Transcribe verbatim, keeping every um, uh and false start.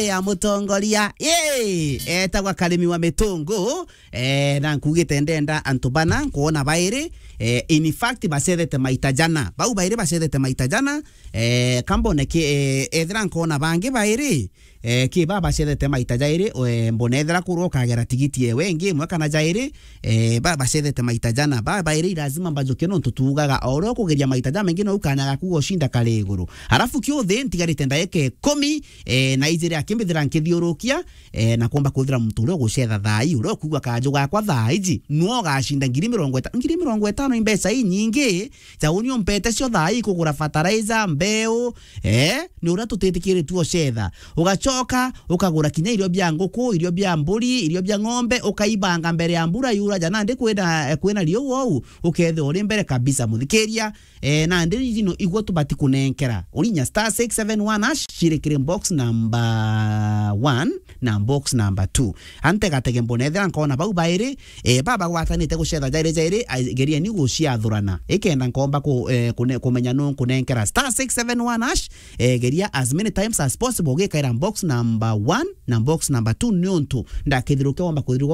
ya mutongoria. Yee, etagwa Karimi wa Mitungu. Eh, na nkugite ndenda antu bana nkwona bairi, eh, in fact, bacethete maita jana. Bau bairi bacethete maita jana, eh, kambone ki, eh, ethira nkwona bangi bairi, eh, ki ba bacethete maita jairi, eh, mbona ethira kurwa ukagera tigiti ewe ingi imwe kana jairi, eh, ba bacethete maita jana. Ba bairi lazima mbajuke nontu tuugaga, o uria ukugeria maita jamaingi no ukanyaga kuga ucinda kari iguru. Halafu kiuthi ntigarite ndaika ikumi, eh, na ijiri akimbithira nkithiurukia, eh, na kwomba kwithira muntu uria ugucetha thaa ii, uria ukuigua kaju gakwa thaa iji, nwe ugacinda ngiri mirongo itano. Ngiri mirongo itano i mbeca inyingi, ja uni umpete cio thaa ii kugura fertilizer, mbeu, eh, ni uria tutitikiritue ucetha. Ugacoka, ukagura kinya irio bia nguku, irio bia mburi, irio bia ng'ombe, ukaibanga mbere ya mbura yura, ja nandi kwina, eh, kwina riua ou, ukethirwa uri mbere kabisa, muthikiria. Eh, nandi iji no igwe tubati kunenkera. Urinya star six seven one hash, cirikire box number one na box number two. Antegatege mbona ethira nkona bau bairi, eh, baba gwatanite gucetha jairi jairi, a, gerieni guciathurana. Ikenda nkomba ku, eh, kune, kumenya nu nkunenkera. Star six seven one hash, eh, geria as many times as possible, ugikaira box number one na box number two, niuntu ndakithiruke womba kwithirwa